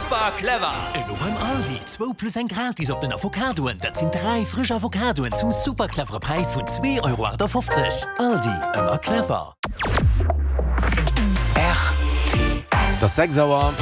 Super clever! Elo beim Aldi, zwou plus eng gratis op den Avocadoen, dat sinn 3 frësch Avocadoen zum super clevere Präis vun 2,58 Euro. Aldi, ëmmer clever! Et ass 6 Auer.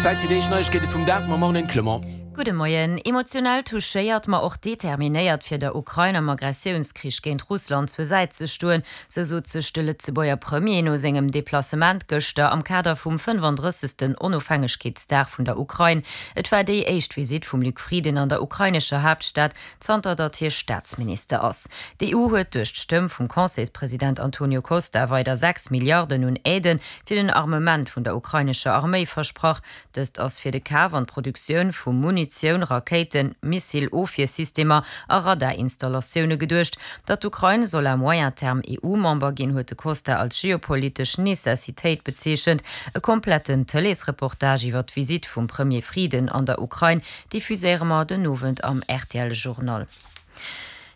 Zäit fir déi éischt Neiegkeete vum Dag mam Marlène Clement. Gudde Moien. Emotionell touchéiert, ma och determinéiert fir der Ukrain am Aggressiounskrich géint Russland zur Säit ze stoen, sou sot sech de Lëtzebuerger Premier no sengem Deplacement gëschter am Kader vum 35. Onofhängegkeetsdag vun der Ukrain. Et war déi éischt Visitt vum Luc Frieden an der ukrainescher Haaptstad, zanter datt hie Staatsminister ass. D'EU huet duerch d'Stëmm vum Conseilspresident Antonio Costa weider 6 Milliarden un Aidë fir den Armement vun der ukrainescher Arméi versprach. Dëst ass fir de Kaf an d'Produktioun vu Munitioun, Rakéiten, Missile-Ofwiersystemer a Radarinstallatioune geduecht. Datt d'Ukrain soll à moyen terme EU-Member ginn, huet de Costa als geopolitesch Necessitéit bezeechent. E kompletten Tëleesreportage iwwer d'Visitt vum Premier Frieden an der Ukrain diffuséiere mer den Owend am rtl Journal.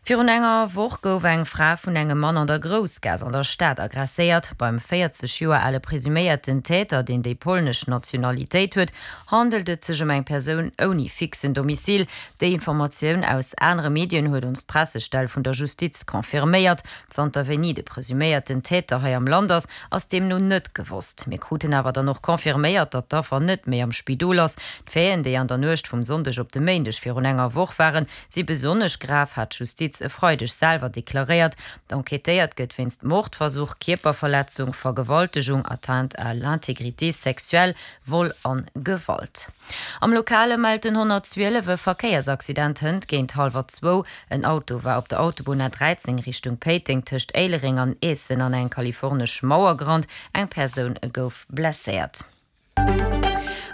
Virun enger Woch gouf eng Fra vun engem Mann an der Groussgaass an der Stad aggresséiert. Beim 40 Joer ale presuméierten Täter, deen déi polnesch Nationalitéit huet, handelt et sech ëm eng Persoun ouni fixen Domicile. Déi Informatioun aus anere Medien huet ons d'Pressestell vun der Justiz confirméiert. Zanter wéini de presuméierten Täter hei am Land ass, ass deemno net gewosst. Mir kruten awer dann och confirméiert, datt d'Affer net méi am Spidol ass. D'Faiten, déi an der Nuecht vum Sonndeg op de Méindeg virun enger Woch waren, si besonnesch grav, hat d'Justiz e Freideg selwer deklaréiert. Enquêtéiert gëtt wéinst Mordversuch, Kierperverletzung, Vergewaltegung, Atteinte à l'intégrité sexuelle, Vol an Gewalt. Am Lokale mellt den 112 e Verkéiersaccident hënt géint hallwer zwou. En Auto war op der Autobunn A13 Richtung Péiteng tëscht Éilereng an Eessen an eng kalifornesch Mauer gerannt. Eng Persoun gouf blesséiert.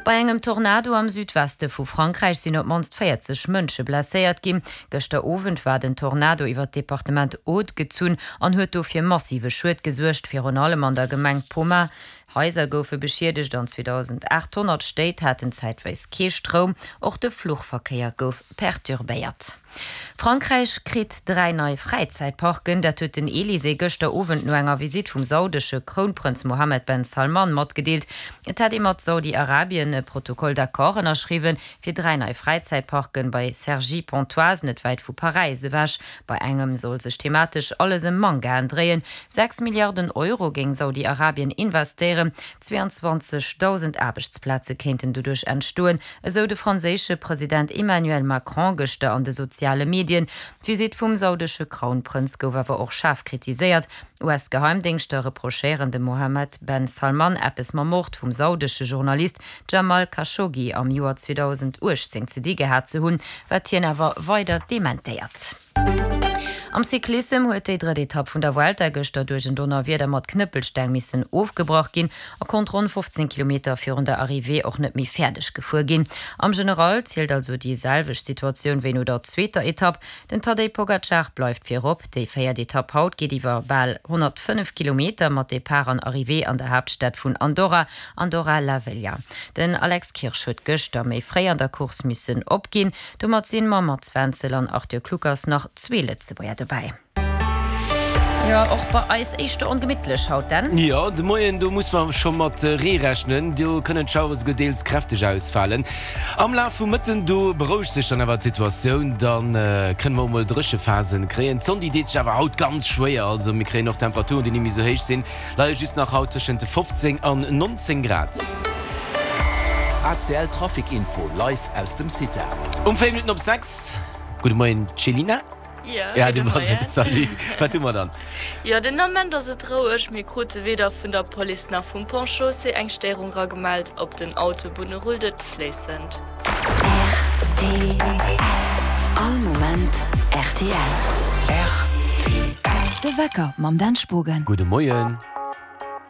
Bei engem Tornado am Südweste vu Frankräich sinn op d'mannst 40 Mënsche blesséiert ginn. Gëschter Owend war den Tornado iwwer d'Departement Aude gezunn an huet do fir massive Schued gesuergt, virun allem an der Gemeng Pomain. Haiser goufe beschiedegt an 2.800 Stéit haten zäitweis kee Stroum. Och de Fluchverkéier gouf perturbéiert. Frankräich kritt 3 nei Fräizäitparken. Dat huet den Elysée gëschter Owend no enger Visitt vum saudesche Krounprënz Mohammed ben Salman matgedeelt. Et hätt ee mat Saudi-Arabien e Protocole d'accord ënnerschriwwen, fir 3 nei Fräizäitparken bei Cergy-Pontoise, net wäit vu Paräis ewech. Bei engem soll sech thematesch alles ëm Mangaen dréien. 6 Milliarden Euro géing Saudi-Arabien investéieren, 22.000 Aarbechtsplaze kéinten doduerch entstoen, Esou de franséische President Emmanuel Macron gëschter an de soziale Medien. D'Visitt vum saudesche Krounprënz gouf awer och schaarf kritiséiert. US-Geheimdéngschter reprochéieren dem Mohammed ben Salman eppes mam Mord vum saudesche Journalist Jamal Khashoggi am Joer 2018 ze di gehat ze hunn, wat hien awer weider dementéiert. Am Cyclissem huet déi drëtt Etapp vun der Vuelta gëschter duerch en Donnerwieder mat Knëppelsteng missen ofgebrach ginn a konnt ronn 15 Kilometer virun der Arrivée och net méi fäerdeg gefuer ginn. Am General zielt also déi selwecht Situatioun wéi no der zweeter Etapp. Den Tadej Pogacar bleift virop. Déi véiert Etapp haut geet iwwer bal 105 Kilometer mat Depart an Arrivée an der Haaptstad vun Andorra, Andorra la Vella. Den Alex Kirsch huet gëschter méi fréi an der Course missen opginn. Domat sinn mam Mats Wenzel an Arthur Kluckers nach zwee Lëtzebuerger dobäi. Jo, och bei eis éischter ongemittlech haut, Dan. Jo, de Moien, do muss mer scho mat Ree rechnen. Do kënnen d'Schauere souguer deels kräfteg ausfalen. Am Laf vum Mëtten, do berouegt sech dann awer d'Situatioun, da kënne mer och mol Dréchephasen kréien. D'Sonn, déi deet sech awer haut ganz schwéier, also mir kréien och Temperaturen, déi ni méi sou héich sinn. Leie just nach haut tëschent 15 an 19 Grad. ACL Trafic Info live aus dem CITA. Um 4 Minutten op 6. Gudde Moien Céline. Jo, gudde Moien. Salut. Wat hu mer dann? Jo, den Ament ass et roueg. Mir krute weder vun der Police nach vum Pont Chaussée eng Stéierung ragemellt. Op den Autobunne rullt et fléissend. Rtl. All Moment rtl. Rtl. De Wecker mam Dan Spogen. Gudde Moien.